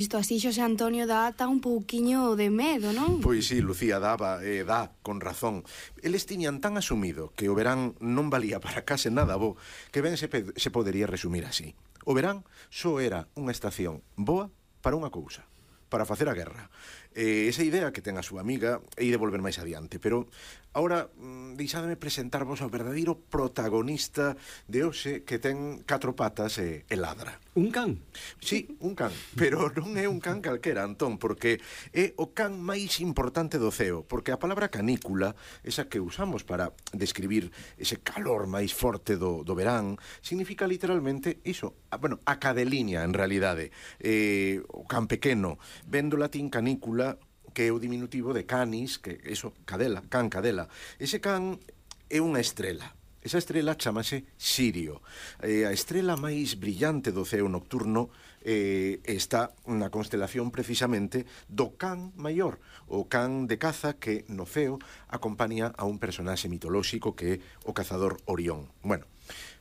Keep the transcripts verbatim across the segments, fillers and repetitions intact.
Isto así, Xosé Antonio, dá ata un pouquiño de medo, non? Pois sí, Lucía, daba, e eh, dá, con razón. Eles tiñan tan asumido que o verán non valía para case nada bo, que ben se, se podería resumir así. O verán só era unha estación boa para unha cousa, para facer a guerra. Eh, esa idea que ten a súa amiga e de volver máis adiante, pero agora mm, deixádeme presentarvos ao verdadeiro protagonista de hoxe, que ten catro patas e, e ladra. Un can? Sí, un can, pero non é un can calquera, Antón, porque é o can máis importante do ceo, porque a palabra canícula, esa que usamos para describir ese calor máis forte do, do verán, significa literalmente iso, a, bueno, a cadeliña, en realidade. Eh, o can pequeno, ven do latín canícula, que é o diminutivo de canis, que eso, cadela, can cadela. Ese can é unha estrela. Esa estrela chamase Sirio. Eh, a estrela máis brillante do ceo nocturno eh, está na constelación precisamente do can maior, o can de caza que no ceo acompaña a un personaxe mitolóxico que é o cazador Orión. Bueno,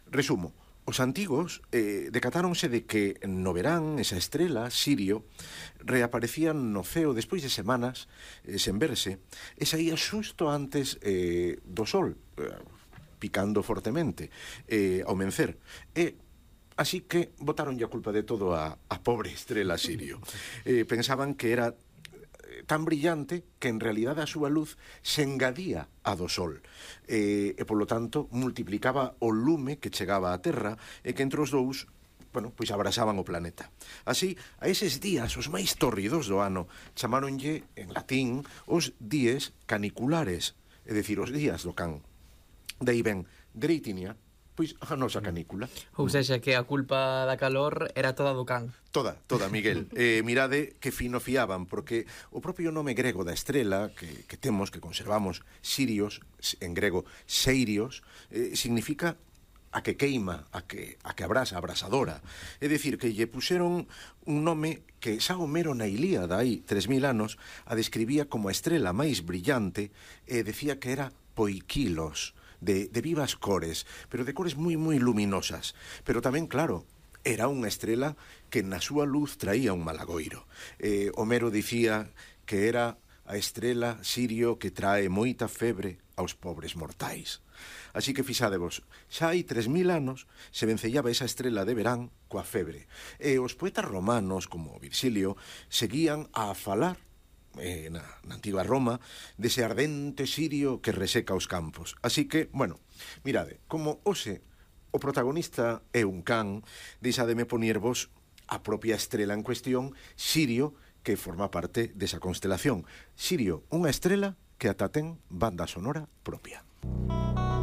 resumo. Os antigos eh, decatáronse de que no verán esa estrela, Sirio, reaparecía no ceo despois de semanas eh, sen verse, e saía xusto antes eh, do sol, eh, picando fortemente, eh, ao mencer. E así que botaronlle a culpa de todo a, a pobre estrela Sirio. Eh, pensaban que era tan brillante que en realidade a súa luz se engadía a do sol e, e polo tanto multiplicaba o lume que chegaba á Terra e que entre os dous, bueno, pois abrasaban o planeta. Así, a eses días os máis tórridos do ano chamáronlle en latín os dies caniculares, é dicir, os días do can. De aí ven Dreitinia, pois a nosa canícula. Ou seja, que a culpa da calor era toda do can. Toda, toda, Miguel. Eh, mirade que fino fiaban, porque o propio nome grego da estrela que, que temos, que conservamos, Sirios, en grego Seirios, eh, significa a que queima, a que, a que abrasa, abrasadora. É dicir, que lle puseron un nome que xa Homero na Ilíada, hai tres mil anos, a describía como a estrela máis brillante e decía que era Poikilos, De, de vivas cores, pero de cores moi, moi luminosas. Pero tamén, claro, era unha estrela que na súa luz traía un malagoiro. Eh, Homero dicía que era a estrela Sirio que trae moita febre aos pobres mortais. Así que fixádevos, xa hai tres mil anos se vencellaba esa estrela de verán coa febre. E os poetas romanos, como Virgilio, seguían a falar Eh, na, na antiga Roma, dese ardente Sirio que reseca os campos. Así que, bueno, mirade, como hoxe o protagonista é un can, deixademe poñervos a propia estrela en cuestión, Sirio, que forma parte desa constelación. Sirio, unha estrela que ata ten banda sonora propia.